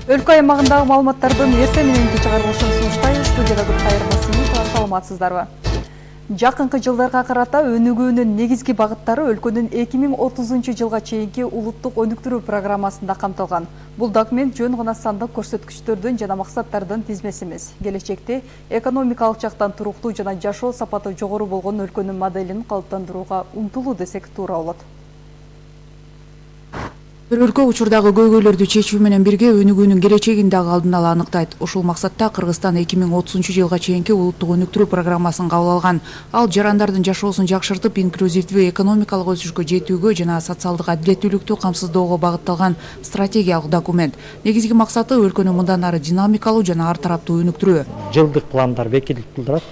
Өлкө аймагындагы маалыматтардын эртең мененки чыгарылышын сунуштайбыз. Студияда Кайыр Басымов, саламатсыздарбы? Жакынкы жылдарга карата өнүгүүнүн негизги багыттары өлкөнүн 2030 жылга чейинки улуттук өнүктүрүү программасында камтылган. Бул документ жөн гана сандык көрсөткүчтөрдүн жана максаттардын тизмеси эмес. Келечекте экономикалык жактан туруктуу жана жашоо сапаты жогору болгон өлкөнүн моделин калыптандырууга умтулуу десек туура болот. Бир өлкө учурдагы көйгөйлөрдү чечүү менен бирге өнүгүүнүн келечегин дагы алдын ала аныктайт. Ушул максатта Кыргызстан 2030 жылга чейинки улуттук өнүктүрүү программасын кабыл алган. Ал жарандардын жашоосун жакшыртып, инклюзивдүү экономикалык өсүшкө жетүүгө жана социалдык адилеттүүлүктү камсыздоого багытталган стратегиялык документ. Негизги максаты өлкөнү мындан ары динамикалуу жана ар тараптуу өнүктүрүү. Жылдык пландар бекитилип турат.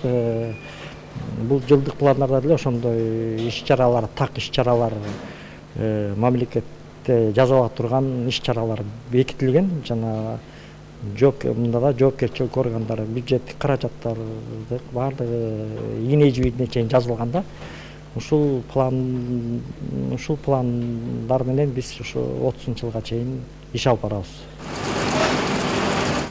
Бул жылдык пландарда деле ошондой иш-чаралар, так иш-чаралар мамлекет жазалап турган иш-чаралар бекитилген. Жана мында да жоопкерчилик органдары, бюджеттик каражаттарды баардыгы ийне жибине чейин жазылган да. Ушул пландар менен биз ушу 30 жылга чейин иш алып барабыз.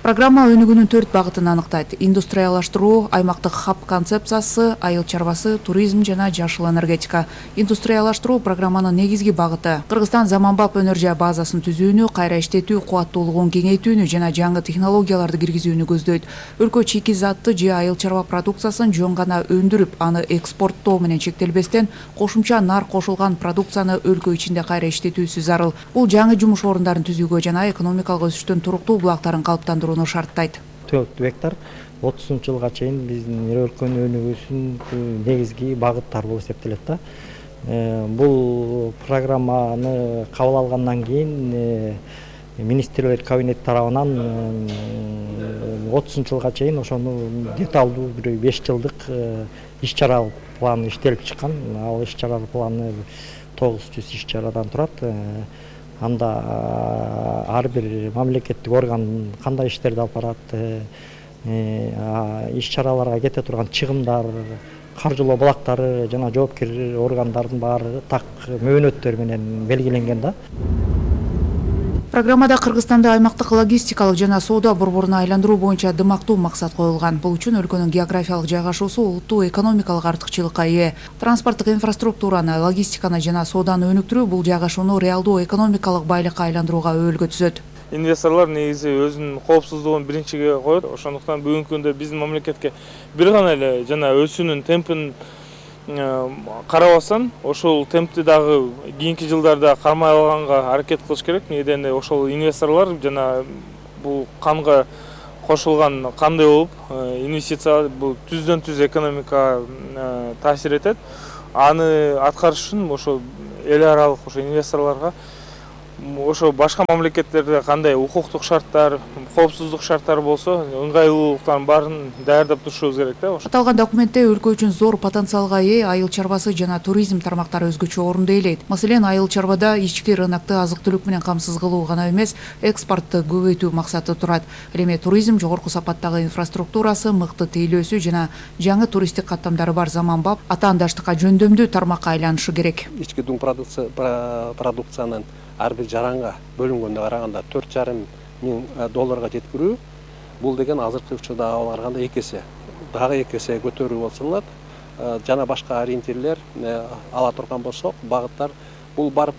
Программа өнүгүүнүн 4 багытын аныктайт: индустриялаштыруу, аймактык хаб концепциясы, айыл чарбасы, туризм жана жашыл энергетика. Индустриялаштыруу программанын негизги багыты Кыргызстан заманбап энергия базасын түзүүнү, кайра иштетүү кубаттуулугун кеңейтүүнү жана жаңы технологияларды киргизүүнү көздөйт. Өлкө чийки-затты же айыл чарба продукциясын жөн гана өндүрүп, аны экспорттоо менен чектелбестен, кошумча нар кошулган продукцияны өлкө ичинде кайра иштетүүсү зарыл. Бул жаңы жумуш орундарын түзүүгө жана экономикалык өсүштүн туруктуу булактарын калыптандырууну шарттайт. 4 гектар 30 жылга чейин биздин өлкөнүн өнүгүүсүнүн негизги багыттары болуп эсептелет да. Бул программаны кабыл алгандан кийин министрлер кабинети тарабынан 30 жылга чейин ошону деталдуу 5 жылдык иш-чара планы иштелип чыккан. Ал иш-чара планы 900 иш-чарадан турат. Анда ар бир мамлекеттик орган кандай иштерди алып барат, иш-чараларга кете турган чыгымдар, каржылоо булактары жана жоопкер органдардын баары так мөөнөттөр менен белгиленген да. Программада Кыргызстанды аймактык логистикалык жана соода борборуна айландыруу боюнча дымактуу максат коюлган. Бул үчүн өлкөнүн географиялык жайгашуусу улуттуу экономикалык артыкчылыкка ээ. Транспорттук инфраструктураны, логистиканы жана сооданы өнүктүрүү бул жайгашууну реалдуу экономикалык байлыкка айландырууга өбөлгө түзөт. Инвесторлор негизи өзүнүн коопсуздугун биринчиге коет. Ошондуктан бүгүнкү күндө биздин мамлекетке бир гана эле жана өсүүнүн темпин карабастан ошол темпти дагы кийинки жылдарда кармай алганга аракет кылыш керек. Неден ошол инвесторлор жана бул канга кошулган кандай болуп, инвестиция бул түздөн-түз экономикага таасир этет. Аны аткарыш үчүн ошо эл аралык ошо инвесторлорго ошо башка мамлекеттерде кандай укуктук шарттар, коопсуздук шарттары болсо, ыңгайлуулуктарын баарын даярдап турушубуз керек да. Аталган документте өлкө үчүн зор потенциалга ээ айыл чарбасы жана туризм тармактары өзгөчө орунду ээлейт. Маселен, айыл чарбада ички рынокты азык-түлүк менен камсыз кылуу гана эмес, экспортту көбөйтүү максаты турат. Ал эми туризм жогорку сапаттагы инфраструктурасы, мыкты тейлөөсү жана жаңы туристтик каттамдары бар заманбап, атаандаштыкка жөндөмдүү тармакка айланышы керек. Ички дуң продукциянын ар бир жаранга бөлүнгөндө караганда $4,500 жеткирүү, бул деген азыркы учурда аларганда 2 эсе, дагы 2 эсе көтөрүү болсонот. Жана башка ориентирлер ала турган болсок, багыттар бул барып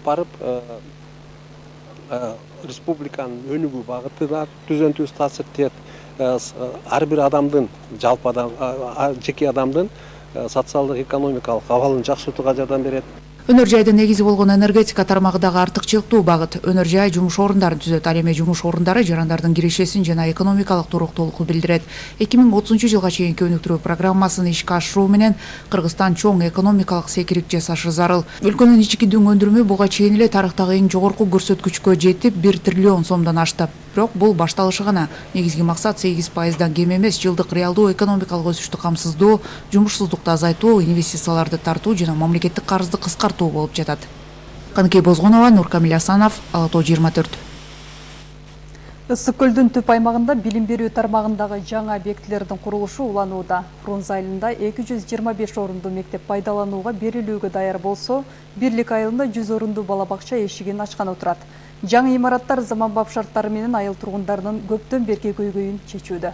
республиканын өнүгүү багытына түздөн-түз таасир этет. Ар бир адамдын, жалпы жеке адамдын социалдык экономикалык абалын жакшыртууга жардам берет. Өнөр жайдын негизи болгон энергетика тармагы дагы артыкчылыктуу багыт. Өнөр жай жумуш орундарын түзөт. Ал эми жумуш орундары жарандардын кирешесин жана экономикалык туруктуулукту билдирет. 2030 жылга чейинки өнүктүрүү программасын ишке ашыруу менен Кыргызстан чоң экономикалык секирик жасашы зарыл. Өлкөнүн ички дуң өндүрүмү буга чейин эле тарыхтагы эң жогорку көрсөткүчкө жетип, 1 триллион сомдон ашты. Бирок бул башталышы гана. Негизги максат 8%дан кем эмес жылдык реалдуу экономикалык өсүштү камсыздоо, жумушсуздукту азайтуу, инвестицияларды тартуу жана мамлекеттик карызды кыскартуу болуп жатат. Каныкей Бозгонова, Нуркамил Асанов, Ала Тоо 24. Ысык көлдүн түп аймагында билим берүү тармагындагы жаңы объектилердин курулушу уланууда. Фрунзе айылында 225 орунду мектеп пайдаланууга берилүүгө даяр болсо, Бирлик айылында 100 орунду бала бакча эшигин ачканы турат. Жаңы имараттар заманбап шарттары менен айыл тургундарынын көптөн берки көйгөйүн чечүүдө.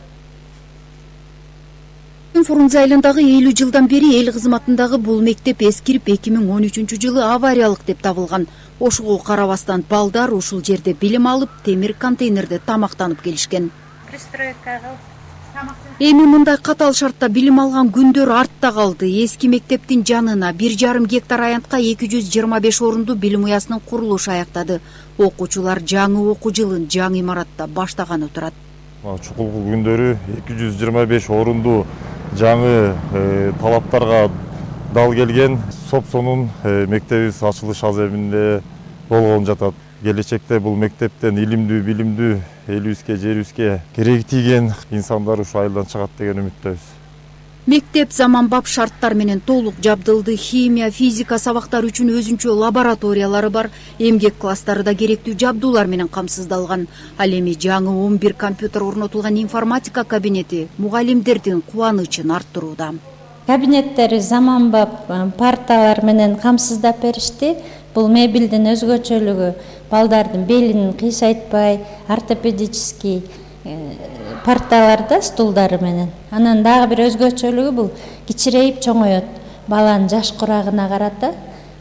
Фрунзе айылындагы 50 жылдан бери эл кызматындагы бул мектеп эскирип 2013-жылы авариялык деп табылган. Ошого карабастан балдар ушул жерде билим алып, темир контейнерде тамактанып келишкен. Эми мындай катаал шартта билим алган күндөр артта калды. Эски мектептин жанына 1,5 гектар аянтка 225 орунду билим уясынын курулушу аяктады. Окуучулар жаңы окуу жылын жаңы имаратта баштаганы турат. Чукулгу күндөрү 225 орунду жаңы талаптарга дал келген Сопсонун мектебибиз ачылыш аземинде болгон жатат. Келечекте бул мектептен илимдүү, билимдүү, элибизге, жерибизге кереги тийген инсандар ушу айылдан чыгат деген үмүттөбүз. Мектеп заманбап шарттар менен толук жабдылды. Химия, физика сабактары үчүн өзүнчө лабораториялары бар. Эмгек класстары да керектүү жабдуулар менен камсыздалган. Ал эми жаңы 11 компьютер орнотулган информатика кабинети мугалимдердин кубанычын арттырууда. Кабинеттери заманбап парталар менен камсыздап беришти. Бул мебелдин өзгөчөлүгү балдардын белин кыйсайтпай, ортопедический парталарда стулдары менен. Анан дагы бир өзгөчөлүгү бул кичирейип чоңоет. Баланын жаш курагына карата.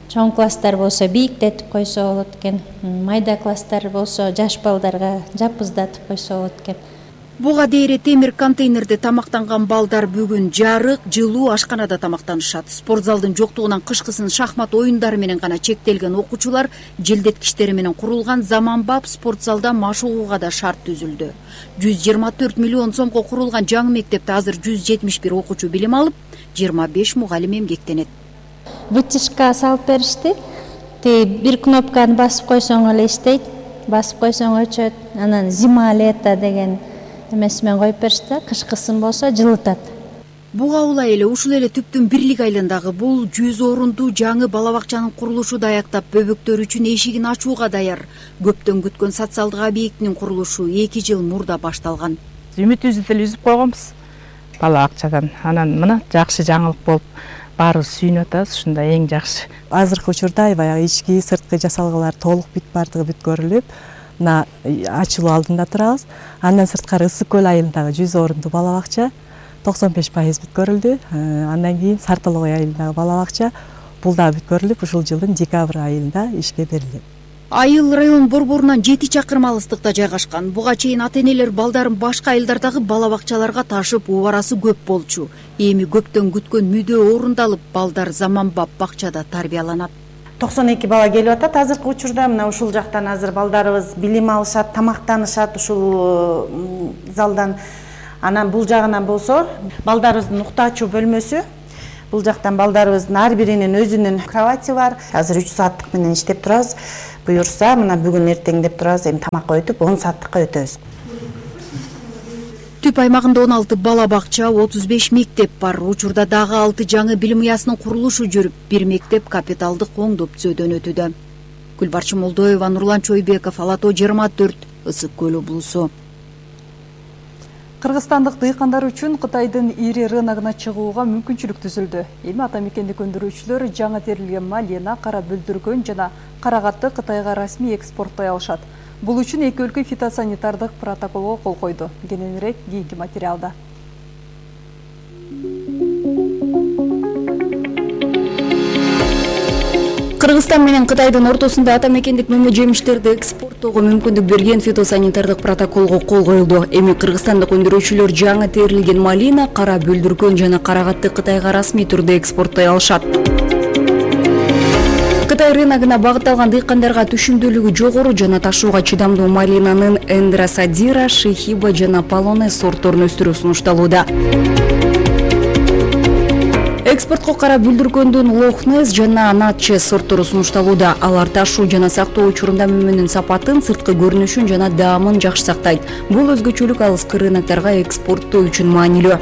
Чоң класстар болсо бийиктетип койсо болот экен. Майда класстар болсо жаш балдарга жапыздатып койсо болот экен. Буга дейре темир контейнерде тамактанган балдар бүгүн жарык, жылуу ашканада тамактанышат. Спортзалдын жоктугунан кышкысын шахмат оюндары менен гана чектелген окуучулар желдеткичтери менен курулган заманбап спортзалда машыгууга да шарт түзүлдү. 124 миллион сомго курулган жаңы мектепте азыр 171 окуучу билим алып, 25 мугалим эмгектенет. Вытяжка салып беришти. Бир кнопканы басып койсоң эле иштейт, басып койсоң өчөт. Анан зима лето деген эмесимен коюп беришти, кышкысын болсо жылытат. Буга улай эле ушул эле түптүн Бирлик айылындагы бул 100 орунду жаңы бала бакчанын курулушу да аяктап, бөбөктөр үчүн эшигин ачууга даяр. Көптөн күткөн социалдык объектинин курулушу 2 жыл мурда башталган. Үмүтүбүздү деле үзүп койгонбуз бала бакчадан. Анан мына жакшы жаңылык болуп баарыбыз сүйүнүп атабыз, ушунда эң жакшы. Азыркы учурда баягы ички, сырткы жасалгалар толук бардыгы бүткөрүлүп, мына ачылуу алдында турабыз. Андан сырткары Ысык көл айылындагы 100 орунду бала бакча 95% бүткөрүлдү. Андан кийин Сартолгой айылындагы бала бакча бул да бүткөрүлүп, ушул жылдын декабрь айылында ишке берилет. Айыл район борборунан 7 чакырым алыстыкта жайгашкан. Буга чейин ата-энелер балдарын башка айылдардагы бала бакчаларга ташып, убарасы көп болчу. Эми көптөн күткөн мүдөө орундалып, балдар заманбап бакчада тарбияланат. 92 бала келип атат азыркы учурда. Мына ушул жактан азыр балдарыбыз билим алышат, тамактанышат ушул залдан. Анан бул жагынан болсо балдарыбыздын уктаачу бөлмөсү. Бул жактан балдарыбыздын ар биринин өзүнүн кровати бар. Азыр 3 сааттык менен иштеп турабыз. Буюрса, мына бүгүн эртең деп турабыз, эми тамакка өтүп 10 сааттыкка өтөбүз. Түп аймагында 16 бала бакча, 35 мектеп бар. Учурда дагы 6 жаңы билим уясынын курулушу жүрүп, бир мектеп капиталдык оңдоп түзөөдөн өтүүдө. Гүлбарчы Молдоева, Нурлан Чойбеков, Алато 24, Ысык көл облусу. Кыргызстандык дыйкандар үчүн Кытайдын ири рыногуна чыгууга мүмкүнчүлүк түзүлдү. Эми ата мекендик өндүрүүчүлөр жаңы терилген малина, кара бүлдүргөн жана карагатты Кытайга расмий экспорттой алышат. Бул үчүн эки өлкө фитосанитардык протоколго кол койду. Кененирээк кийинки материалда. Кыргызстан менен Кытайдын ортосунда ата мекендик мөмө жемиштерди экспорттоого мүмкүндүк берген фитосанитардык протоколго кол коюлду. Эми кыргызстандык өндүрүүчүлөр жаңы терилген малина, кара бүлдүргөн жана карагатты Кытайга расмий түрдө экспорттой алышат. Кытай рыногуна багытталган дыйкандарга түшүмдүүлүгү жогору жана ташууга чыдамдуу малинанын Эндросадира, Шихиба жана Полонез сортторун өстүрүү сунушталууда. Экспортко кара бүлдүргөндүн Лохнес жана Натче сорттору сунушталууда. Алар ташуу жана сактоо учурунда мөмөнүн сапатын, сырткы көрүнүшүн жана даамын жакшы сактайт. Бул өзгөчөлүк алыскы рынокторго экспорттоо үчүн маанилүү.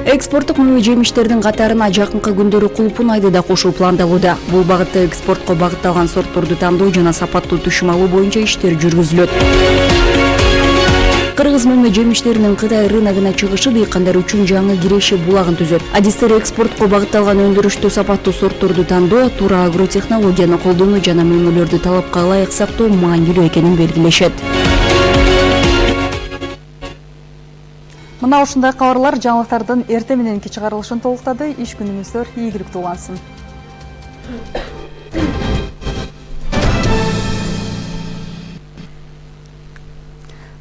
Экспорттук мөмө жемиштердин катарына жакынкы күндөрү кулпунайды да кошуу пландалууда. Бул багытта экспортко багытталган сортторду тандоо жана сапаттуу түшүм алуу боюнча иштер жүргүзүлөт. Кыргыз мөңгү жемиштеринин Кытай рыногуна чыгышы дыйкандар үчүн жаңы киреше булагын түзөт. Адистер экспортко багытталган өндүрүштүү сапаттуу сортторду тандоо, туура агротехнологияны колдонуу жана мөңгүлөрдү талапка ылайык сактоо маанилүү экенин белгилешет. Мына ушундай кабарлар жаңылыктардын эртең мененки чыгарылышын толуктады. Иш күнүңүздөр ийгиликтүү улансын.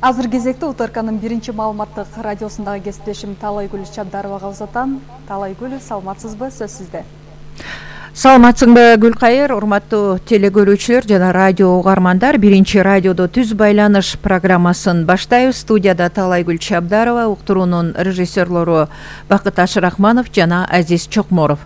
Азыр кезекте УТРКнын биринчи маалыматтык радиосундагы кесиптешим Талайгүл Чабдаровага узатам. Талайгүл, саламатсызбы? Сөз сизде. Саламатсыңбы Гүлкайыр, урматтуу телекөрүүчүлөр жана радио угармандар. Биринчи радиодо түз байланыш программасын баштайбыз. Студияда Талайгүл Чабдарова, уктуруунун режиссерлору Бакыт Ашырахманов жана Азиз Чокморов.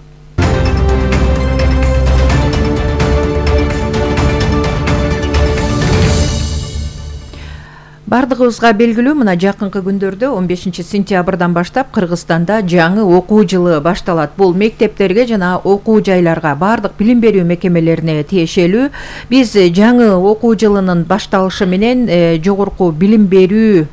Бардыгыбызга белгилүү, мына жакынкы күндөрдө 15 сентябрдан баштап Кыргызстанда жаңы окуу жылы башталат. Бул мектептерге жана окуу жайларга, бардык билим берүү мекемелерине тиешелүү. Биз жаңы окуу жылынын башталышы менен жогорку билим берүү,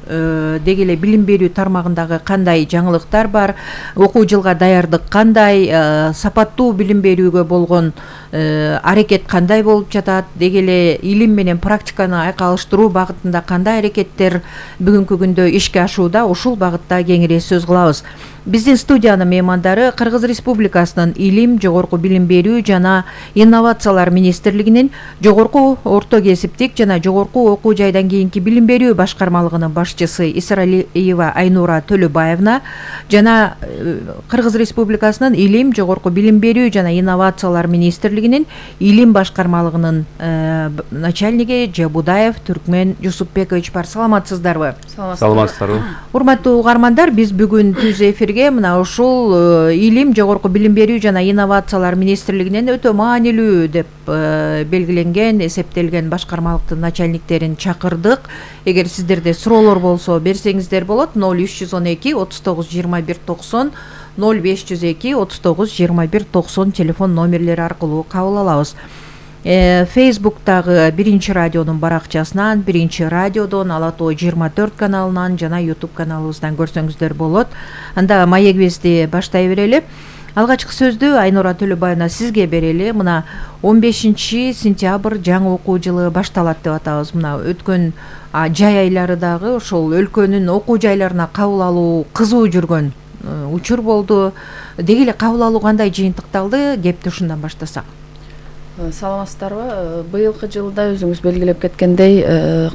деги эле билим берүү тармагындагы кандай жаңылыктар бар, окуу жылга даярдык кандай, сапаттуу билим берүүгө болгон аракет кандай болуп жатат, деги эле илим менен практиканы айкалыштыруу багытында кандай аракеттер бүгүнкү күндө ишке ашууда, ушул багытта кеңири сөз кылабыз. Биздин студиянын меймандары Кыргыз Республикасынын Илим, жогорку билим берүү жана инновациялар министрлигинин жогорку орто кесиптик жана жогорку окуу жайдан кийинки билим берүү башкармалыгынын башчысы Исралиева Айнура Төлөбаевна жана Кыргыз Республикасынын Илим, жогорку билим берүү жана инновациялар министрлигинин Илим башкармалыгынын начальниги Жабудаев Түркмен Жусупбекович бар. Саламатсыздарбы? Саламатсыздарбы. Урматтуу угармандар, биз бүгүн түз эфирге мына ушул Илим, жогорку билим берүү жана инновациялар министрлигинен өтө маанилүү деп белгиленген, эсептелген башкармалыктын начальниктерин чакырдык. Эгер сиздерде суроолор болсо берсеңиздер болот. 0312 39 21 90 0502 39 21 90 телефон номерлери аркылуу кабыл алабыз. Фейсбуктагы биринчи радионун баракчасынан, биринчи радиодон, Ала Тоо 24 каналынан жана YouTube каналыбыздан көрсөңүздөр болот. Анда маегибизди баштай берели. Алгачкы сөздү Айнура Төлөбаевна сизге берели. Мына 15 сентябрь жаңы окуу жылы башталат деп атабыз. Мына өткөн жай айлары дагы ошол өлкөнүн окуу жайларына кабыл алуу кызуу жүргөн учур болду. Деги эле кабыл алуу кандай жыйынтыкталды? Кепти ушундан баштасак. Саламатсыздарбы? Быйылкы жылда өзүңүз белгилеп кеткендей,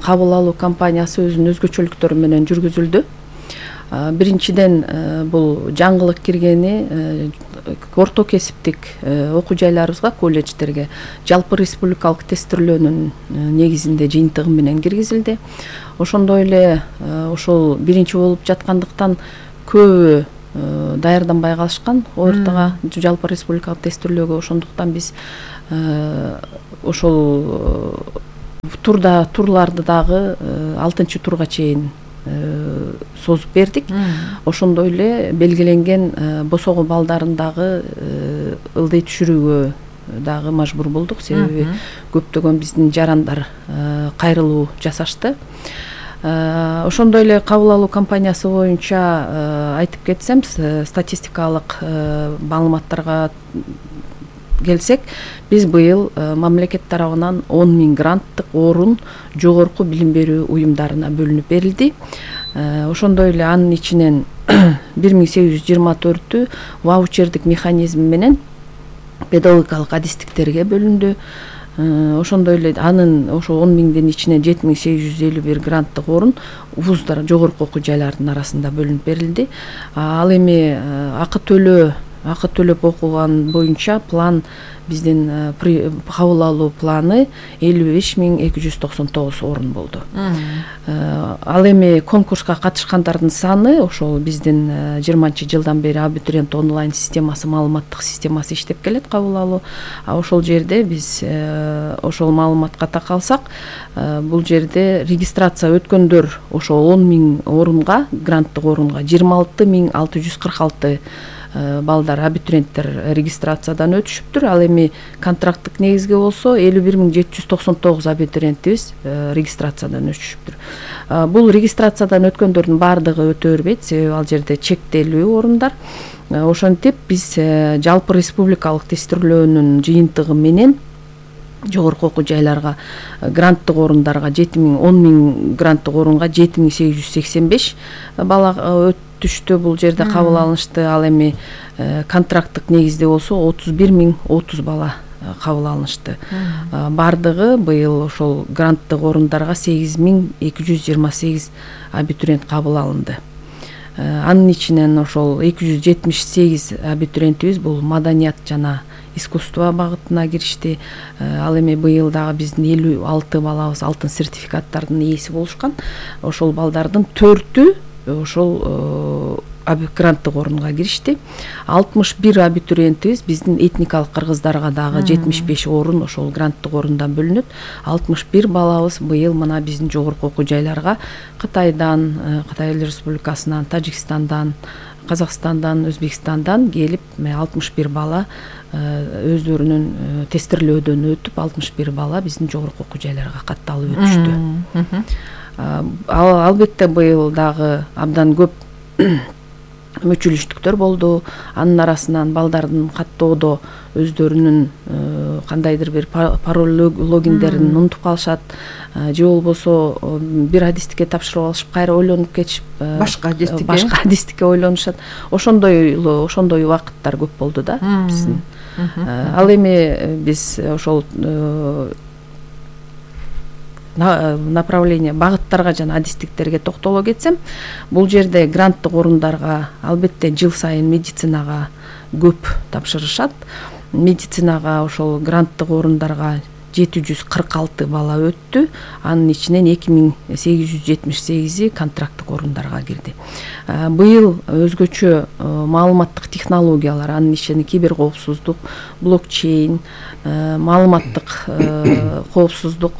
кабыл алуу кампаниясы өзүнүн өзгөчөлүктөрү менен жүргүзүлдү. Биринчиден бул жаңылык киргени орто кесиптик окуу жайларыбызга, колледждерге жалпы республикалык тестирлөөнүн негизинде жыйынтыгы менен киргизилди. Ошондой эле ошол биринчи болуп жаткандыктан көбү даярданбай калышкан ортого жалпы республикалык тестирлөөгө. Ошондуктан биз ошол турларды дагы 6-турга чейин созуп бердик. Ошондой эле белгиленген босого балдарын дагы ылдый түшүрүүгө дагы мажбур болдук, себеби көптөгөн биздин жарандар кайрылуу жасашты. Ошондой эле кабыл алуу кампаниясы боюнча айтып кетсем, статистикалык маалыматтарга келсек, биз быйыл мамлекет тарабынан 10 000 гранттык орун жогорку билим берүү уюмдарына бөлүнүп берилди. Ошондой эле анын ичинен 1824-тү ваучердик механизм менен педагогикалык адистиктерге бөлүндү. Ошондой эле анын ошо 10 000-дин ичинен 7851 гранттык орун вуздар, жогорку окуу жайлардын арасында бөлүнүп берилди. Ал эми акы төлөп окуган боюнча план биздин кабыл алуу планы 55 299 орун болду. Ал эми конкурска катышкандардын саны ошол биздин 20-жылдан бери абитуриент онлайн системасы, маалыматтык системасы иштеп келет, кабыл алуу. Ошол жерде биз ошол маалыматка такалсак, бул жерде регистрация өткөндөр ошол 10 000 орунга, гранттык орунга 26 646 балдар абитуриенттер регистрациядан өтүшүптүр. Ал эми контракттык негизге болсо 51.799 абитуриентибиз регистрациядан өтүшүптүр. Бул регистрациядан өткөндөрдүн баардыгы өтө бербейт, себеби ал жерде чектелүү орундар. Ошентип биз жалпы республикалык тестирлөөнүн жыйынтыгы менен жогорку окуу жайларга гранттык орундарга 10.000 гранттык орунга 7.885 бала өтүштү. Бул жерде кабыл алынышты. Ал эми контракттык негизде болсо 31.030 бала кабыл алынышты. Бардыгы быйыл ошол гранттык орундарга 8.228 абитуриент кабыл алынды. Анын ичинен ошол 278 абитуриентибиз бул маданият жана искусство багытына киришти. Ал эми быйыл дагы биздин 56 балабыз алтын сертификаттардын ээси болушкан. Ошол балдардын 4-ү ошол гранттык орунга киришти. 61 абитуриентибиз биздин этникалык кыргыздарга дагы 75 орун ошол гранттык орундан бөлүнөт. 61 балабыз быйыл мына биздин жогорку окуу жайларга Кытайдан, Кытай Республикасынан, Тажикстандан, Казакстандан, Өзбекстандан келип 61 бала өздөрүнүн тестирлөөдөн өтүп 61 бала биздин жогорку окуу жайларга катталып өтүштү. Албетте быйыл дагы абдан көп мүчүлүштүктөр болду. Анын арасынан балдардын каттоодо өздөрүнүн кандайдыр бир пароль логиндерин унутуп калышат, же болбосо бир адистикке тапшырып алышып кайра ойлонуп кетишип башка адистикке ойлонушат. Ошондой убакыттар көп болду да биздин. Ал эми биз ошол направление багыттарга жана адистиктерге токтоло кетсем, бул жерде гранттык орундарга албетте жыл сайын медицинага көп тапшырышат. Медицинага ошол гранттык орундарга 746 бала өттү. Анын ичинен 2878 контракттык орундарга кирди. Быйыл өзгөчө маалыматтык технологиялар, анын ичинен кибер коопсуздук, блокчейн, маалыматтык коопсуздук,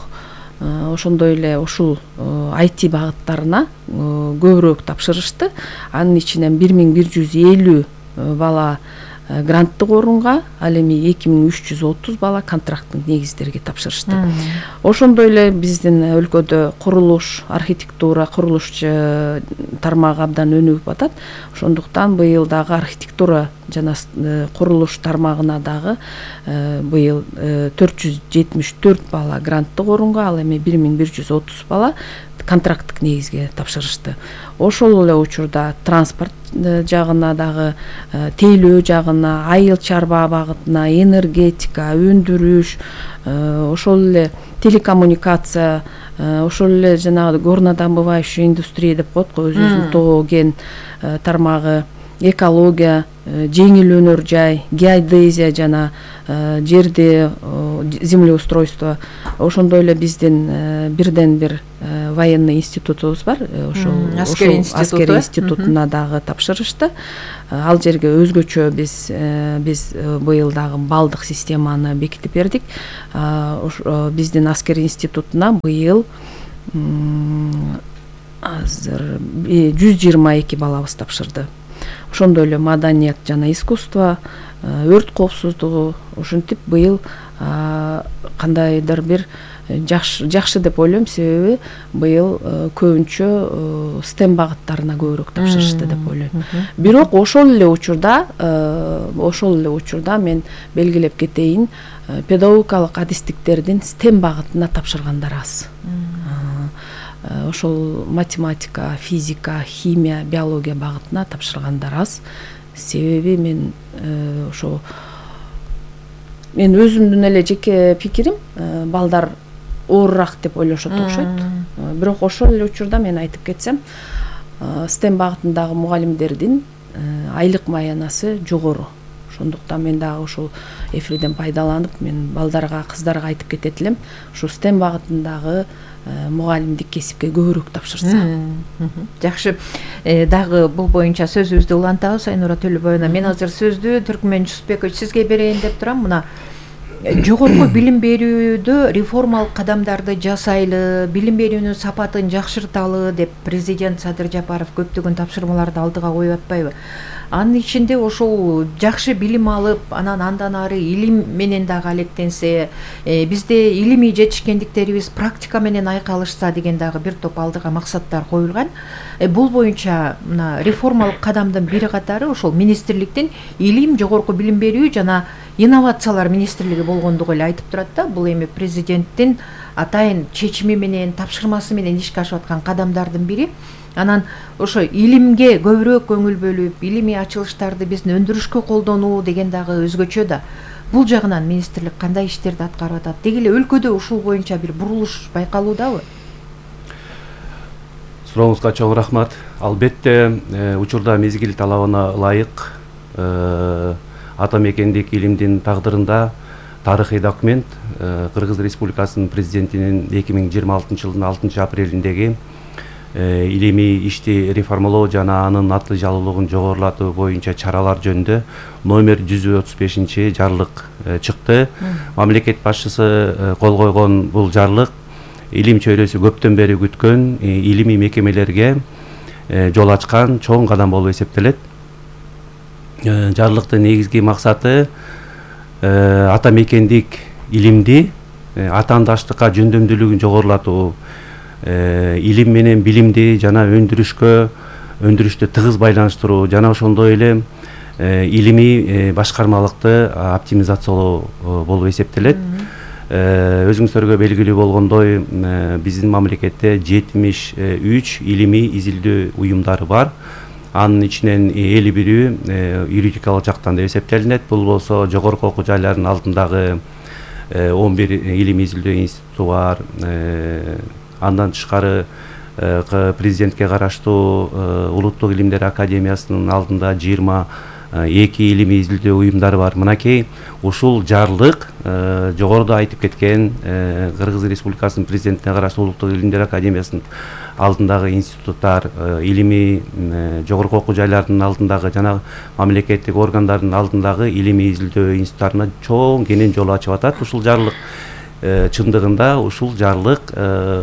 ошондой эле ушул IT багыттарына көбүрөөк тапшырышты. Анын ичинен 1150 бала гранттык орунга, ал эми 2330 бала контракттык негиздерге тапшырышты. Ошондой эле биздин өлкөдө курулуш, архитектура, курулуш тармагы абдан өнүгүп атат. Ошондуктан быйыл дагы архитектура жана курулуш тармагына дагы быйыл 474 бала гранттык орунга, ал эми 1130 бала контракттык негизге тапшырышты. Ошол эле учурда транспорт жагына дагы, тейлөө жагына, айыл чарба багытына, энергетика, өндүрүш, ошол эле телекоммуникация, ошол эле жанагы горнодобывающая индустрия деп коет го, өзүбүздүн тоо кен тармагы, экология, жеңил өнөр жай, геодезия жана жерди землеустройство. Ошондой эле биздин бирден бир военный институтубуз бар, ошол аскери институтуна дагы тапшырышты. Ал жерге өзгөчө биз быйыл дагы балдык системаны бекитип бердик. Биздин аскери институтуна быйыл азыр 122 балабыз тапшырды. Ошондой эле маданият жана искусство, өрт коопсуздугу, ошентип быйыл кандайдыр бир жакшы деп ойлойм, себеби быйыл көбүнчө STEM багыттарына көбүрөөк тапшырышты деп ойлойм. Бирок ошол эле учурда мен белгилеп кетейин, педагогикалык адистиктердин STEM багытына тапшыргандар аз. Ошол математика, физика, химия, биология багытына тапшыргандар аз. Себеби мен өзүмдүн эле жеке пикирим, балдар оорураак деп ойлошот окшойт. Бирок ошол эле учурда мен айтып кетсем, STEM багытындагы мугалимдердин айлык маянасы жогору. Ошондуктан мен дагы ошол эфирден пайдаланып, мен балдарга, кыздарга айтып кетет элем, ушу STEM багытындагы мугалимдик кесипке көбүрөөк тапшырса. Жакшы. Дагы бул боюнча сөзүбүздү улантабыз Айнура Төлөбаевна. Мен азыр сөздү Түркмөн Жусупбекович сизге берейин деп турам. Мына жогорку билим берүүдө реформалык кадамдарды жасайлы, билим берүүнүн сапатын жакшырталы деп президент Садыр Жапаров көптөгөн тапшырмаларды алдыга коюп атпайбы? Анын ичинде ошол жакшы билим алып, андан ары илим менен дагы алектенсе, бизде илимий жетишкендиктерибиз практика менен айкалышса деген дагы бир топ алдыга максаттар коюлган. Бул боюнча мына реформалык кадамдын бири катары ошол министрликтин илим, жогорку билим берүү жана инновациялар министрлиги болгондугу эле айтып турат да. Бул эми президенттин атайын чечими менен, тапшырмасы менен ишке ашып аткан кадамдардын бири. Анан ошо илимге көбүрөөк көңүл бөлүп, илимий ачылыштарды биздин өндүрүшкө колдонуу деген дагы өзгөчө да. Бул жагынан министрлик кандай иштерди аткарып атат? Деги эле өлкөдө ушул боюнча бир бурулуш байкалуудабы? Сурооңузга чоң рахмат. Албетте, учурда мезгил талабына ылайык ата мекендик илимдин тагдырында тарыхый документ Кыргыз Республикасынын президентинин 2026 жылдын 6 апрелиндеги илимий ишти реформалоо жана анын аты жалуулугун жогорулатуу боюнча чаралар жөнүндө номер 135 жарлык чыкты. Мамлекет башчысы кол койгон бул жарлык илим чөйрөсү көптөн бери күткөн илимий мекемелерге жол ачкан чоң кадам болуп эсептелет. Жарлыктын негизги максаты ата мекендик илимди атаандаштыкка жөндөмдүүлүгүн жогорулатуу, илим менен билимди жана өндүрүштү тыгыз байланыштыруу жана ошондой эле илимий башкармалыкты оптимизациялоо болуп эсептелет. Өзүңүздөргө белгилүү болгондой, биздин мамлекетте 73 илимий изилдөө уюмдары бар. Анын ичинен 51 юридикалык жактан деп эсептелинет. Бул болсо жогорку окуу жайлардын алдындагы 11 илимий изилдөө институту бар. Андан тышкары президентке караштуу Улуттук илимдер академиясынын алдында 22 илимий изилдөө уюмдары бар. Мынакей ушул жарлык жогоруда айтып кеткен Кыргыз Республикасынын президентине караштуу Улуттук илимдер академиясынын алдындагы институттар, илимий жогорку окуу жайлардын алдындагы жана мамлекеттик органдардын алдындагы илимий изилдөө институттарына чоң кенен жол ачып атат. Ушул жарлык чындыгында ушул жарлык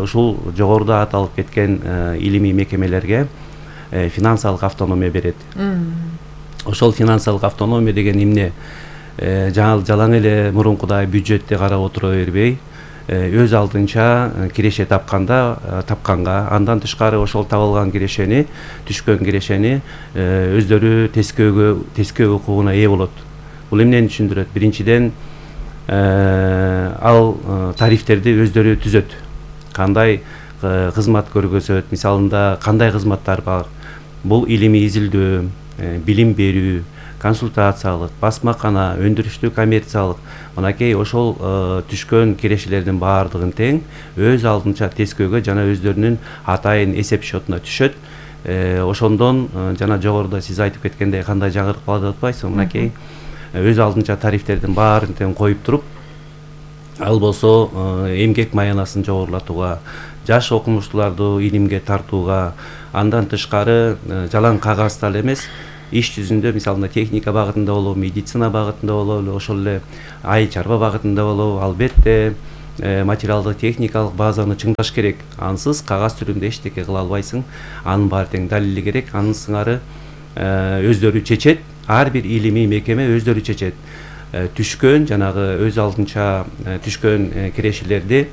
ушул жогоруда аталып кеткен илимий мекемелерге финансылык автономия берет. Ошол финансылык автономия деген эмне? Жалаң эле мурункудай бюджетти карап отура бербей, өз алдынча киреше тапканга, андан тышкары ошол табылган кирешени, түшкөн кирешени өздөрү тескөө укугуна ээ болот. Бул эмнени түшүндүрөт? Биринчиден, ал тарифтерди өздөрү түзөт. Кандай кызмат көргөзөт, мисалында кандай кызматтар бар? Бул илимий изилдөө, билим берүү, консультациялык, басмакана, өндүрүштүү коммерциялык, мынакей ошол түшкөн кирешелердин баардыгын тең өз алдынча тескөөгө жана өздөрүнүн атайын эсеп счетуна түшөт. Ошондон жана жогоруда сиз айтып кеткендей кандай жаңырык бар деп атпайсызбы? Мынакей өз алдынча тарифтердин баарын тең коюп туруп, ал болсо эмгек маянасын жогорулатууга, жаш окумуштууларды илимге тартууга, андан тышкары жалаң кагазда эле эмес, иш жүзүндө мисалында техника багытында болобу, медицина багытында болобу, ошол эле айыл чарба багытында болобу, албетте материалдык техникалык базаны чыңдаш керек. Ансыз кагаз түрүндө эчтеке кыла албайсың. Анын баары тең далили керек. Анын сыңары өздөрү чечет. Ар бир илимий мекеме өздөрү чечет. Түшкөн жанагы өз алдынча түшкөн кирешелерди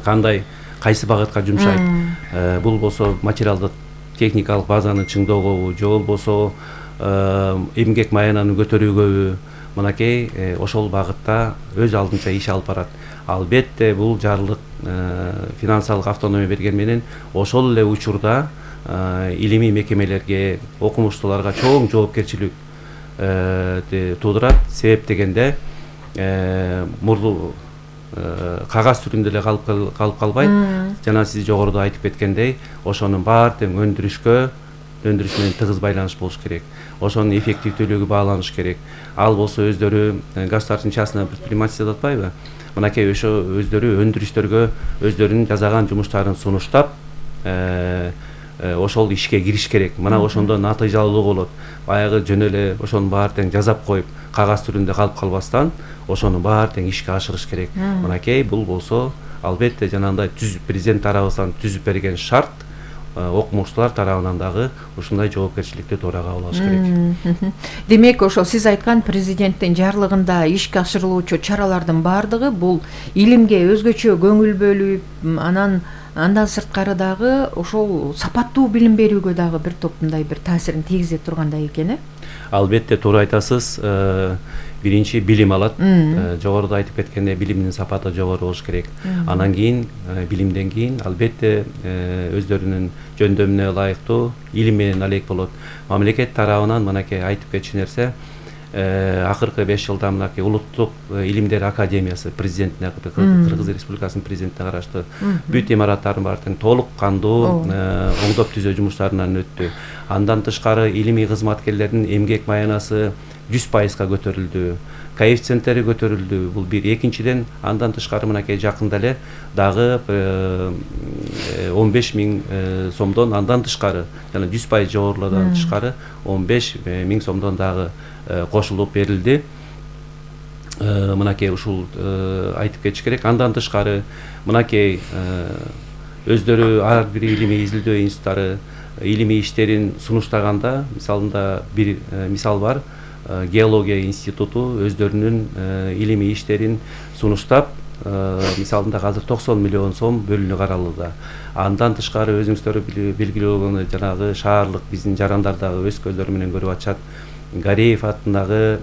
кандай кайсы багытка жумшайт? Бул болсо материалдык техникалык базаны чыңдоого, же болбосо эмгек маянаны көтөрүүгө, мынакей ошол багытта өз алдынча иш алып барат. Албетте бул жарлык финансылык автономия берген менен ошол эле учурда илимий мекемелерге, окумуштууларга чоң жоопкерчилик туудурат. Себеп дегенде мурду кагаз түрүндө эле калып калбайт. Жана сиз жогоруда айтып кеткендей, ошонун баары тең өндүрүш менен тыгыз байланыш болуш керек. Ошонун эффективдүүлүгү бааланыш керек. Ал болсо өздөрү государственный частный предпринимательство деп атпайбы? Мынакей өздөрү өндүрүштөргө өздөрүнүн жасаган жумуштарын сунуштап, ошол ишке кириш керек. Мына ошондо натыйжалуу болот. Баягы жөн эле ошонун баары тең жазап коюп кагаз түрүндө калып калбастан ошонун баары тең ишке ашырыш керек. Мынакей бул болсо албетте жанагындай президент тарабыбыздан түзүп берген шарт окумуштуулар тарабынан дагы ушундай жоопкерчиликти туура кабыл алыш керек. Демек ошол сиз айткан президенттин жарлыгында ишке ашырылуучу чаралардын баардыгы бул илимге өзгөчө көңүл бөлүп, андан сырткары дагы ошол сапаттуу билим берүүгө дагы бир топ мындай бир таасирин тийгизе тургандай экен, э? Албетте туура айтасыз. Биринчи билим алат. Жогоруда айтып кеткендей билимдин сапаты жогору болуш керек. Анан кийин билимден кийин албетте өздөрүнүн жөндөмүнө ылайыктуу илим менен алек болот. Мамлекет тарабынан мынакей айтып кетчү нерсе, акыркы 5 жылда мынакей улуттук илимдер академиясы президентине, Кыргыз Республикасынын президентине караштуу бүт имараттардын баары тең толук кандуу оңдоп түзөө жумуштарынан өттү. Андан тышкары илимий кызматкерлердин эмгек маянасы 100%га көтөрүлдү. Коэффициенттери көтөрүлдү. Бул бир. Экинчиден, андан тышкары мынакей жакында эле дагы 15 миң сомдон андан тышкары, жана 100% жогорулардан тышкары 15 миң сомдон дагы кошулуп берилди. Мынакей ушул айтып кетиш керек. Андан тышкары мынакей өздөрү ар бир илимий изилдөө институттары илимий иштерин сунуштаганда, мисалында бир мисал бар. Геология институту өздөрүнүн илимий иштерин сунуштап, мисалында азыр 90 миллион сом бөлүнүп каралууда. Андан тышкары өзүңүздөр белгилүү болгондой жанагы шаардык биздин жарандар дагы өз көздөрү менен көрүп атышат. Гареев атындагы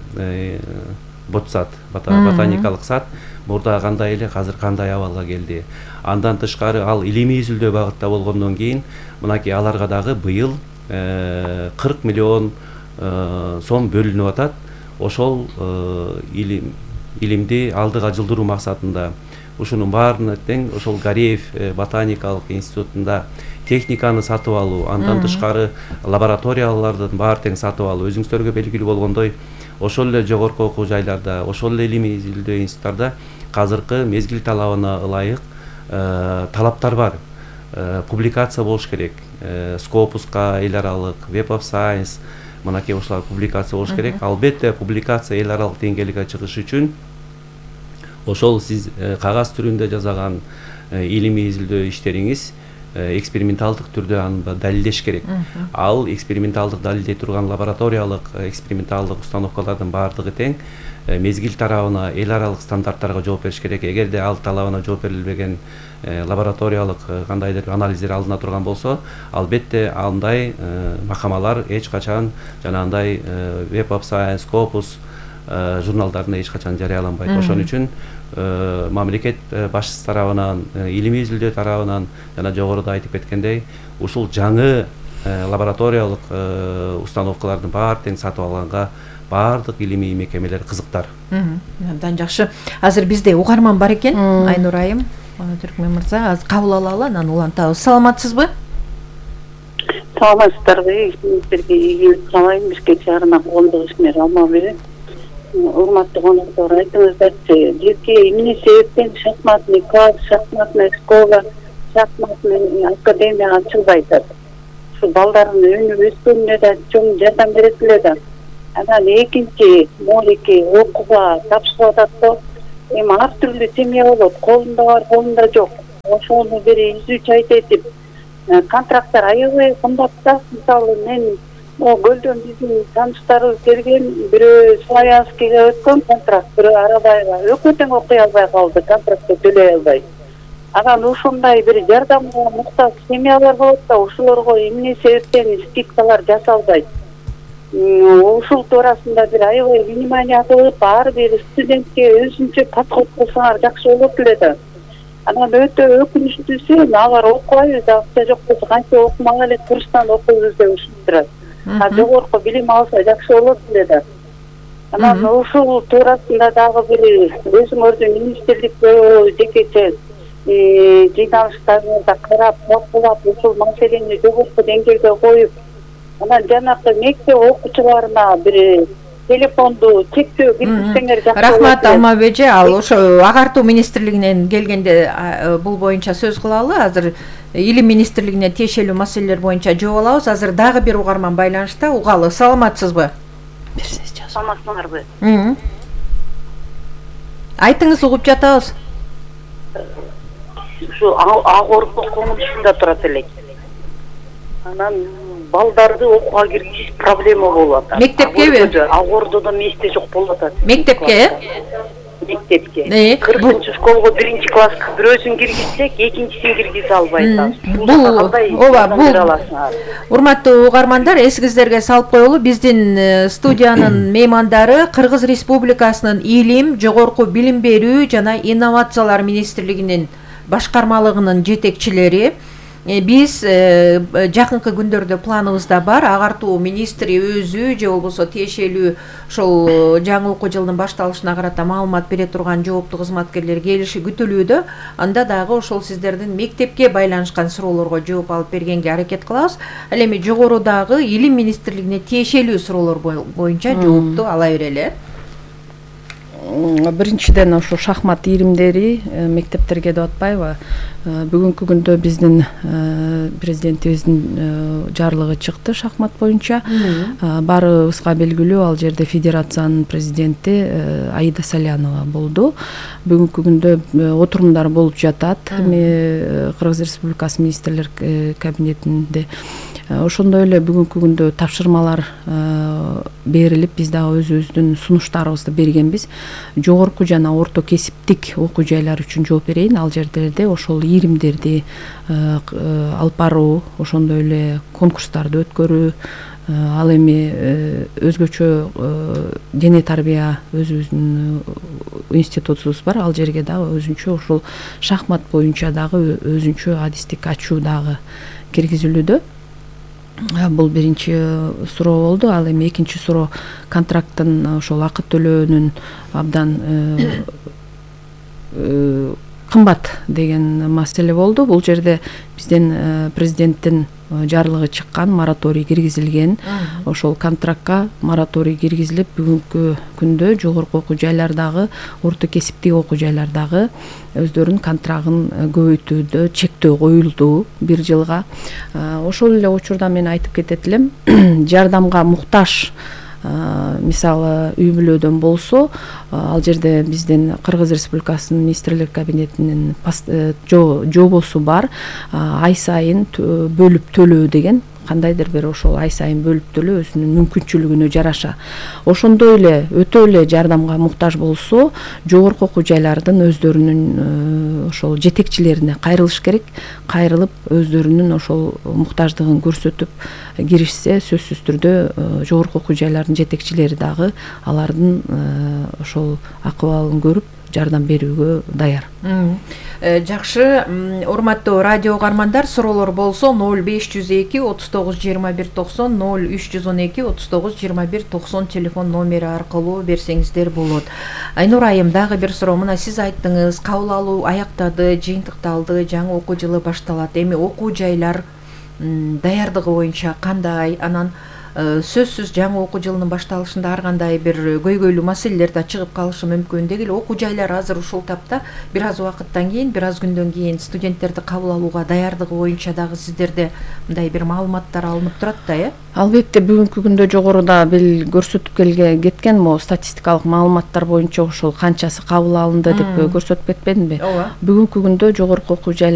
ботсад, ботаникалык сад мурда кандай эле, азыр кандай абалга келди. Андан тышкары ал илимий изилдөө багытта болгондон кийин мынакей аларга дагы быйыл 40 миллион сом бөлүнүп атат. Ошол илимди алдыга жылдыруу максатында ушунун баарына тең ошол Гареев ботаникалык институтунда техниканы сатып алуу, андан тышкары лабораториялардын баары тең сатып алуу. Өзүңүздөргө белгилүү болгондой, ошол эле жогорку окуу жайларда, ошол эле илимий изилдөө институттарда азыркы мезгил талабына ылайык талаптар бар. Публикация болуш керек. Scopus'ка эл аралык, Web of Science, мынакей ошолар публикация болуш керек. Албетте публикация эл аралык деңгээлге чыгыш үчүн ошол сиз кагаз түрүндө жасаган илимий изилдөө иштериңиз эксперименталдык түрдө аны далилдеш керек. Ал эксперименталдык далилдей турган лабораториялык эксперименталдык установкалардын баардыгы тең мезгил тарабына эл аралык стандарттарга жооп бериш керек. Эгерде ал талабына жооп берилбеген лабораториялык кандайдыр анализдер алына турган болсо, албетте андай макамалар эч качан жанагындай Web of Science, Scopus журналдарына эч качан жарыяланбайт. Ошон үчүн мамлекет башчысы тарабынан, илимий изилдөө тарабынан жана жогоруда айтып кеткендей, ушул жаңы лабораториялык установкалардын баары тең сатып алганга баардык илимий мекемелер кызыктар. Абдан жакшы. Азыр бизде угарман бар экен, Айнур айым, Түркмөн мырза, азыр кабыл алалы, анан улантабыз. Саламатсызбы? Саламатсыздарбы? Сиздерге ийгилик каалайм. Бишкек шаарына коомдук ишмер Алмабек. Урматтуу коноктор, айтыңыздарчы, бизге эмне себептен шахматный класс, шахматная школа, шахматный академия ачылбай атат? Ушу балдардын өнүп өскөнүнө да чоң жардам берет эле да. Анан экинчи, молеки окууга тапшырып атат да. Эми ар түрдүү семья болот, колунда бар, колунда жок. Ошону бир изүүчү айтып, контракттар аябай кымбат да. Мисалы мен Гөлдөн биздин тааныштарыбыз келген, бирөө Славянскийге өткөн контракт, бирөө Арабайга өкмөт тең окуй албай калды, контрактты төлөй албай. Анан ушундай бир жардамга муктаж семьялар болот да, ушуларга эмне себептен скидкалар жасалбайт? Ушул туурасында бир аябай внимание кылып, ар бир студентке өзүнчө подход кылсаңар жакшы болот эле да. Анан өтө өкүнүчтүүсү, алар окубайбыз, акча жок болсо кантип окумак эле, курстан окуйбуз деп ушунтурат. Жогорку билим алса жакшы болот эле да. Анан ушул туурасында дагы бир өзүңөрдүн министрликте жекече жыйналыштарыңызда карап, талкуулап, ушул маселени жогорку деңгээлге коюп, анан жанакы мектеп окуучуларына бир телефонду чектөө киргизсеңер жакшы болот. Рахмат Алмабек эже, ал ошо агартуу министрлигинен келгенде бул боюнча сөз кылалы. Азыр илим министрлигине тиешелүү маселелер боюнча жооп алабыз. Азыр дагы бир угарман байланышта. Угалы, саламатсызбы? Саламатсыңарбы? Айтыңыз, угуп жатабыз. Ушу Агордо коммунусунда турат элек. Анан балдарды окууга киргизиш проблема болуп атат. Мектепкеби? Агордодо месте жок болуп атат. Мектепке? Мектепке. 40-школго 1-класска бирөөсүн киргизсек, экинчисин киргизе албайт. Урматтуу угармандар, эсиңиздерге салып коелу, биздин студиянын меймандары Кыргыз Республикасынын Илим, жогорку билим берүү жана инновациялар министрлигинин башкармалыгынын жетекчилери. Биз жакынкы күндөрдө планыбызда бар, агартуу министри өзү же болбосо тиешелүү ошол жаңы окуу жылынын башталышына карата маалымат бере турган жооптуу кызматкерлер келиши күтүлүүдө. Анда дагы ошол сиздердин мектепке байланышкан суроолорго жооп алып бергенге аракет кылабыз. Ал эми жогорудагы илим министрлигине тиешелүү суроолор боюнча жоопту ала берели. Биринчиден ошо шахмат ийримдери мектептерге деп атпайбы? Бүгүнкү күндө биздин президентибиздин жарлыгы чыкты шахмат боюнча. Баарыбызга белгилүү, ал жерде федерациянын президенти Аида Салянова болду. Бүгүнкү күндө отурумдар болуп жатат. Кыргыз Республикасы министрлер кабинетинде. Ошондой эле бүгүнкү күндө тапшырмалар берилип, биз дагы өзүбүздүн сунуштарыбызды бергенбиз. Жогорку жана орто кесиптик окуу жайлар үчүн жооп берейин. Ал жерде ошол ийримдерди алып баруу, ошондой эле конкурстарды өткөрүү, ал эми өзгөчө дене тарбия өзүбүздүн институтубуз бар. Ал жерге дагы өзүнчө ошол шахмат боюнча дагы өзүнчө адистик ачуу дагы киргизилүүдө. Бул биринчи суроо болду. Ал эми экинчи суроо контракттын ошол акы төлөөнүн абдан кымбат деген маселе болду. Бул жерде биздин президенттин жарлыгы чыккан, мораторий киргизилген. Ошол контрактка мораторий киргизилип, бүгүнкү күндө жогорку окуу жайлардагы, орто кесиптик окуу жайлардагы өздөрүнүн контрагын көбөйтүүдө чектөө коюлду 1 жылга. Ошол эле учурда мен айтып кетет элем, жардамга муктаж мисалы үй бүлөдөн болсо, ал жерде биздин Кыргыз Республикасынын министрлер кабинетинин жобосу бар, ай сайын бөлүп төлөө деген, кандайдыр бир ошол ай сайын бөлүп төлөө өзүнүн мүмкүнчүлүгүнө жараша. Ошондой эле өтө эле жардамга муктаж болсо, жогорку окуу жайлардын өздөрүнүн ошол жетекчилерине кайрылыш керек. Кайрылып өздөрүнүн ошол муктаждыгын көрсөтүп киришсе, сөзсүз түрдө жогорку окуу жайлардын жетекчилери дагы алардын ошол акыбалын көрүп жардам берүүгө даяр. Жакшы, урматтуу радио угармандар, суроолор болсо 0502 39 21 90, 0312 39 21 90 телефон номери аркылуу берсеңиздер болот. Айнур айым, дагы бир суроо. Мына сиз айттыңыз, кабыл алуу аяктады, жыйынтыкталды, жаңы окуу жылы башталат. Эми окуу жайлар даярдыгы боюнча кандай? Анан сөзсүз жаңы окуу жылынын башталышында ар кандай бир көйгөйлүү маселелер да чыгып калышы мүмкүн. Деги эле окуу жайлар азыр ушул тапта бир аз убакыттан кийин, бир аз күндөн кийин студенттерди кабыл алууга даярдыгы боюнча дагы сиздерде мындай бир маалыматтар алынып турат да, э? Албетте, бүгүнкү күндө жогоруда бил көрсөтүп кеткен могу статистикалык маалыматтар боюнча ошол канчасы кабыл алынды деп көрсөтүп кетпедимби? Бүгүнкү күндө жогорку окуу жайлар